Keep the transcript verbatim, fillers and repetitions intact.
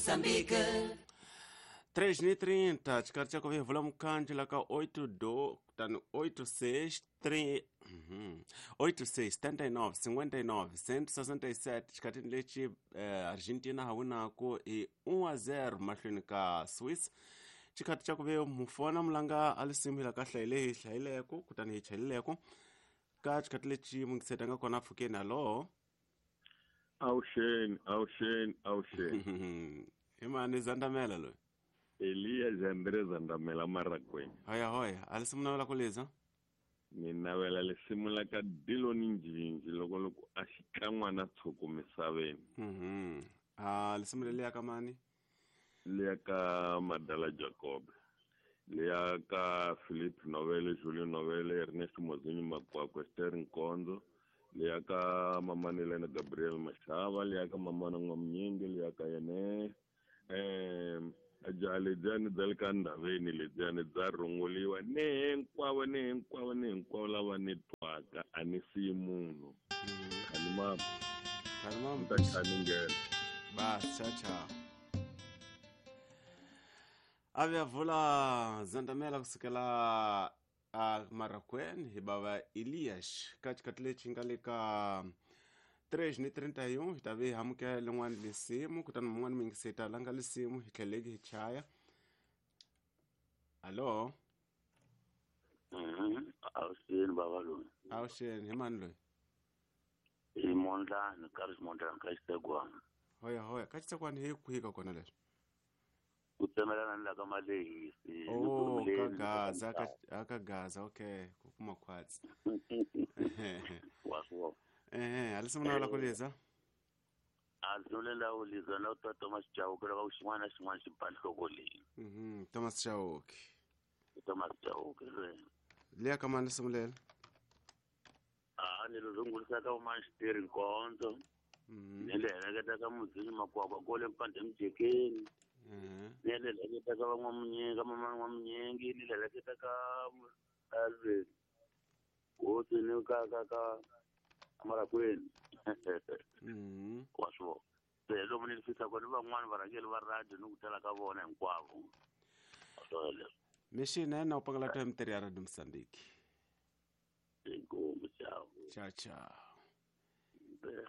Moçambique. três e trinta, xikarhi xa ku vevula mukhandlu la ka oito do kutani oito seis três oito seis setenta e nove cinquenta e nove cento sessenta e sete xikhatini lexi eh, Argentina ha winaku hi um a zero mahlweni ka Swiss. Xikhati xa ku ve mufona mulanga a lisimu hi la ka hlayile hi hlayileko kutani hi chayileko ka xikhati lexi mungiseta nga kona pfukeni alo. Awuxeni, awuxeni, awuxeni. Hi mani Zandamela loyi? Eliya Jandre Zandamela Maragweni. Hoya hoya, a lisimu navela ku liza? Ni navela lisimu la ka Diloni Njinji loko loko a xikan'wana tshuku misaveni. Mhm. Ah, lisimu leliya ka mani? Liya ka Madala Jacob. Liya ka Philip Novele, Julio Novele, Ernest Mozinho Makwakwa, Esther Nkonzo. Liya ka Mamani Lena Gabriel Mashava, liya ka Mamana N'wamnyingi, liya ka yene eh jaha lebyani bya le ka ndhaveni lebyani bya rhunguliwa ni hinkwavo ni hinkwavo ni hinkwavo lava ni twaka a ni siyi munhu. Khani mama. Khani mama. Ni ta khani nghena. Bas, tchau tchau. A vi vula Zandamela kusukela a Marrakweni hi bava Elias ka xikhathi lexi nga le ka três e trinta e um hi ta ve hi amukela lin'wana lisimu kutani mun'wana mi yingiseta la nga lisimu hi tlheleki hi chaya. Alo. Mhm. Awuxeni bava loyi. Awuxeni, hi mani loyi? Hi Mondlani, ka ri Mondlani ka Xitsegwana. Hoya hoya, ka Xitsegwana hi kwihi ka kona leswi? Ku tsemelana ni la ka Malehisi. Oh, ka Gaza, ka ka Gaza, okay, ku kuma khwatsi. Wa swo. Eh, a lisimu navela ku liza? A lisimu leri ku liza na ta Thomas Chauke loko xin'wana na xin'wana xi ba nhloko leyi. Mhm, Thomas Chauke. Thomas Chauke loyi. Liya ka mani lisimu leri? A ni ri rungulisa ka Manxiteri Nkonzo. Mhm. Ni le heleketa ka Mudzini Makwakwa kole Mpande Mjekeni. Mhm. Ni le heleketa ka van'wamunyingi, mama N'wamunyingi, ni le heleketa ka Alvin. Hosi ni ka ka ka Maragweni. Mhm. Wa swo. Se lomu ni fisa kona van'wana varhangeri va radio ni ku tala ka vona hinkwavo. Mixina yena u pangala to M three ya Radio Mozambique. Inkomu, ciao. Ciao ciao. Bene.